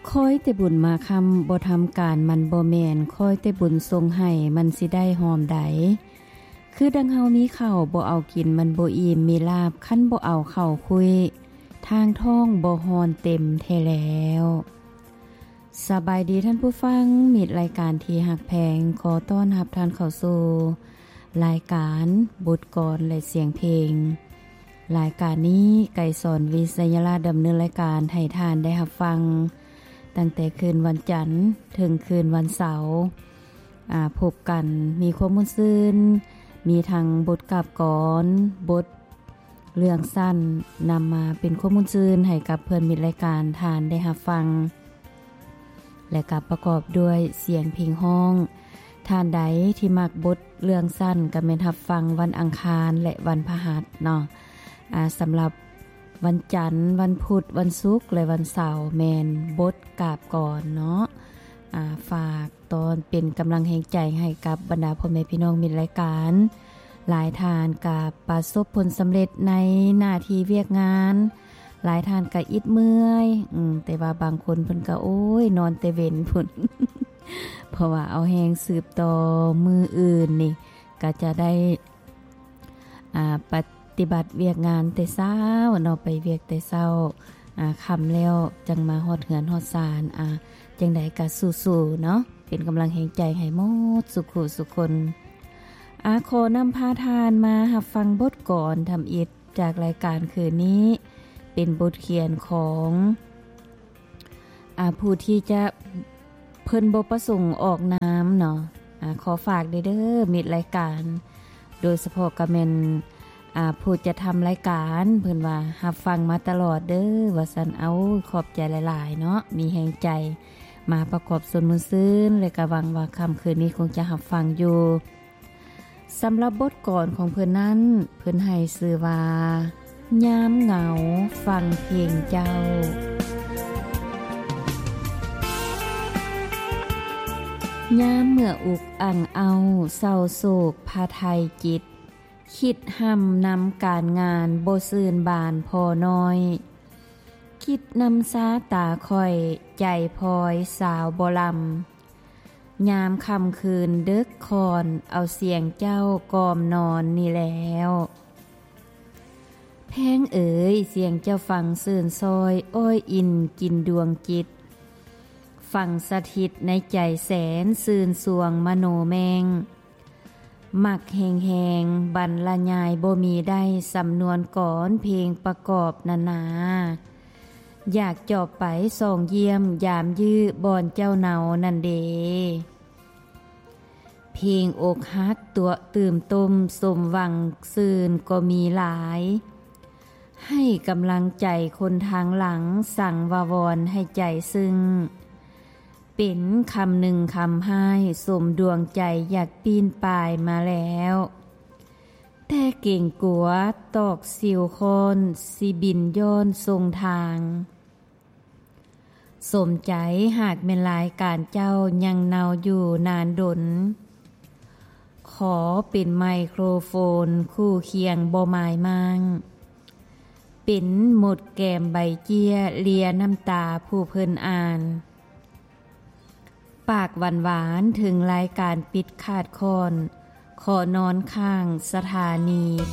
ຄອຍແຕ່ບຸນມາຄຳ ບໍ່ທຳການມັນບໍ່ແມ່ນ ຄອຍແຕ່ບຸນສົ່ງໃຫ້ ມັນຊິໄດ້ຫອມໃດ. ຄືດັ່ງເຮົາມີເຂົ້າ ບໍ່ເອົາກິນມັນບໍ່ອີ່ມ ມີລາບຄັນບໍ່ເອົາເຂົ້າຄຸຍ ທາງທ້ອງບໍ່ຮ້ອນເຕັມແທ້ແລ້ວ. ສະບາຍດີທ່ານຜູ້ຟັງ ມິດລາຍການທີ່ຮັກແພງ ຂໍຕ້ອນຮັບທ່ານເຂົ້າສູ່ລາຍການບົດກອນ ແລະ ສຽງເພງ. ລາຍການນີ້ ໄກສອນ ວິໄຊຍະລາດ ດຳເນີນລາຍການໃຫ້ທ່ານໄດ້ຮັບຟັງ ຕັ້ງແຕ່ຄືນວັນຈັນເຖິງຄືນວັນເສົາ. ອາ ພົບກັນມີຄວາມມ່ວນຊື່ນ ມີທັງບົດກາບກອນ, ບົດເລື່ອງສັ້ນ ນຳມາເປັນຄວາມມ່ວນຊື່ນໃຫ້ກັບເພື່ອນມິດລາຍການທ່ານໄດ້ຮັບຟັງ ແລະ ກໍປະກອບດ້ວຍສຽງເພງຮ້ອງ. ທ່ານໃດທີ່ມັກບົດເລື່ອງສັ້ນ ກໍແມ່ນຮັບຟັງວັນອັງຄານ ແລະ ວັນພະຫັດເນາະ. ອາ ສຳລັບວັນຈັນ, ວັນພຸດ, ວັນສຸກ ແລະ ວັນເສົາ ແມ່ນບົດກາບກອນເນາະ. ອາ ຝາກ ຕອນເປັນກຳລັງແຮງໃຈໃຫ້ກັບບັນດາພໍ່ແມ່ພີ່ນ້ອງມິດລາຍການ. ຫຼາຍທ່ານກະປະສົບຜົນສຳເລັດໃນໜ້າທີ່ວຽກງານ, ຫຼາຍທ່ານກະອິດເມື່ອຍ, ອືມ, ແຕ່ວ່າບາງຄົນເພິ່ນກະ ໂອ້ຍ, ນອນແຕ່ເວັນພຸ້ນ, ເພາະວ່າເອົາແຮງສືບຕໍ່ມື້ອື່ນນີ້ ກະຈະໄດ້ ອາ ປະຕິບັດວຽກງານແຕ່ເຊົ້າເນາະ, ໄປວຽກແຕ່ເຊົ້າ, ອາ ຄ່ຳແລ້ວຈັ່ງມາຮອດເຮືອນຮອດຊານ. ອາ ຈັ່ງໃດກະສູ້ໆເນາະ, ເປັນກຳລັງແຮງໃຈໃຫ້ໝົດສູ່ຄູ່ສູ່ຄົນ. ອາ ຂໍນຳພາທ່ານມາຮັບຟັງບົດກອນທຳອິດຈາກລາຍການຄືນນີ້, ເປັນບົດຂຽນຂອງ ອາ ຜູ້ທີ່ຈະ ເພິ່ນບໍ່ປະສົງອອກນາມເນາະ. ອາ ຂໍຝາກເດີ ມິດລາຍການ, ໂດຍສະເພາະກະແມ່ນ ອາ ຜູ້ຈັດທຳລາຍການ ເພິ່ນວ່າຮັບຟັງມາຕະຫຼອດເດີ ວ່າຊັ້ນ. ເອົາ ຂອບໃຈຫຼາຍໆເນາະ, ມີແຮງໃຈມາປະກອບສ່ວນມ່ວນຊື່ນ ແລະ ກະຫວັງວ່າຄ່ຳຄືນນີ້ຄົງຈະຮັບຟັງຢູ່. ສຳລັບບົດກອນຂອງເພິ່ນນັ້ນ ເພິ່ນໃຫ້ຊື່ວ່າ ຍາມເຫງົາຟັງເພງເຈົ້າ. ຍາມເມື່ອອຸກອັ່ງເອົ້າ ເສົ້າໂສກພະໄທຈິດ, ຄິດຮ່ຳນຳການງານບໍ່ຊື່ນບານພໍນ້ອຍ, ຄິດນຳຊາຕາຂ້ອຍໃຈພອຍສາວບໍ່ລຳ. ຍາມຄ່ຳຄືນເດິກຄ່ອນ ເອົາສຽງເຈົ້າກ່ອມນອນນີ້ແລ້ວ. ແພງເອີຍ ສຽງເຈົ້າຟັງຊື່ນຊ້ອຍ ອ້ອຍອິນກິນດວງຈິດ, ຝັງສະຖິດໃນໃຈແສນຊື່ນຊວງມະໂນແມ່ງ. ມັກແຮງໆ ບັນລະຍາຍບໍ່ມີໄດ້ ສຳນວນກອນເພງປະກອບນັ້ນນາ. ຢາກຈອບໄປສ່ອງຢ້ຽມ ຢາມຢື້ບ່ອນເຈົ້າເນົານັ້ນເດ. ເພງອົກຫັກຕົວະຕື່ມຕົ້ມ ສົມຫວັງຊື່ນກໍມີຫຼາຍ. ໃຫ້ກຳລັງໃຈຄົນທາງຫຼັງ ສັງວາວອນໃຫ້ໃຈຊຶ້ງ. ເປັນຄຳໜຶ່ງຄຳຮ້າຍ ສົມດວງໃຈຢາກປີ້ນປາຍມາແລ້ວ. ແຕ່ເກງກົວຕອກສິວຄ້ອນ ຊິບິນຍ້ອນຊົງທາງ. ສົມໃຈຫາກແມ່ນລາຍການເຈົ້າຍັງເນົາຢູ່ນານດົນ. ຂໍເປັນໄມໂຄຣໂຟນຄູ່ຄຽງບໍ່ໝາຍມ້າງ. ເປັນໝົດແກ້ມໃບເຈ້ຍ ເລຍນ້ຳຕາຜູ້ເພິ່ນອ່ານ. ປາກຫວານໆ ເຖິງລາຍການປິດຂາດຂ້ອນ ຂໍນອນຂ້າງສະຖານີໂພ